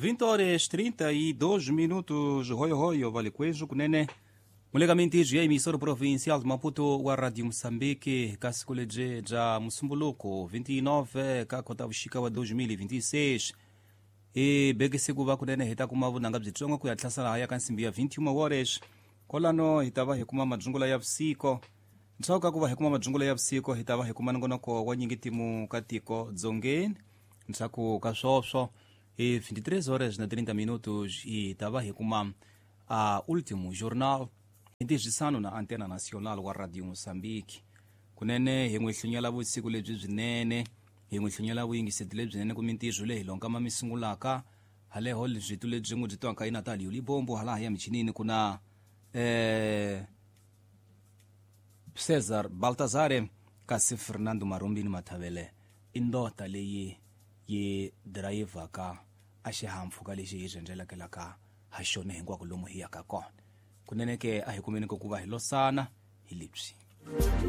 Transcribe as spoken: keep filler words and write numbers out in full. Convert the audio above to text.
vinte horas trinta e dois minutos, Royo Royo, Vale Queijo, Cunene. Mulegamenti ya emissora provincial de Maputo wa Radio Moçambique, Cascoleje ja Musumbuluko, vinte e nove ka kota vuxika wa dois mil e vinte e seis. E beke ku va kunene hi ta kuma vunanga byitsongo ku ya hlasela haya ka nsimbi ya vinte e uma horas. Kolano hi ta va hi kuma madzungula ya vusiku. Ntshaku ka ku va hi kuma madzungula ya vusiku hi ta va hi kuma nongonoko wa nyingitimu ka tiko dzongeni. Ntshaku ka swoswo e vinte e três horas na trinta minutos hi ta va hi kuma a último jornal ntirhisano na Antena Nacional wa Radio Moçambique. Kunene hi n'wi hlunyela vusiku lebyi byinene, hi n'wi hlunyela vuyingiseti lebyinene ku mintirho leyi lonka ma mi sungulaka haleho leswitu lebyi n'wi byi twaka i Natalio Libombo hala ya michinini ku na eh Cesar Baltazare kasi Fernando Marumbini Mathavele i ndota leyi yi dirayivhaka a xihahampfhuka lexi hi rhendzelelaka ha xona hinkwako lomu hi yaka kona. Kunene ke a hi kumeni ku va hi losana hi lebyi.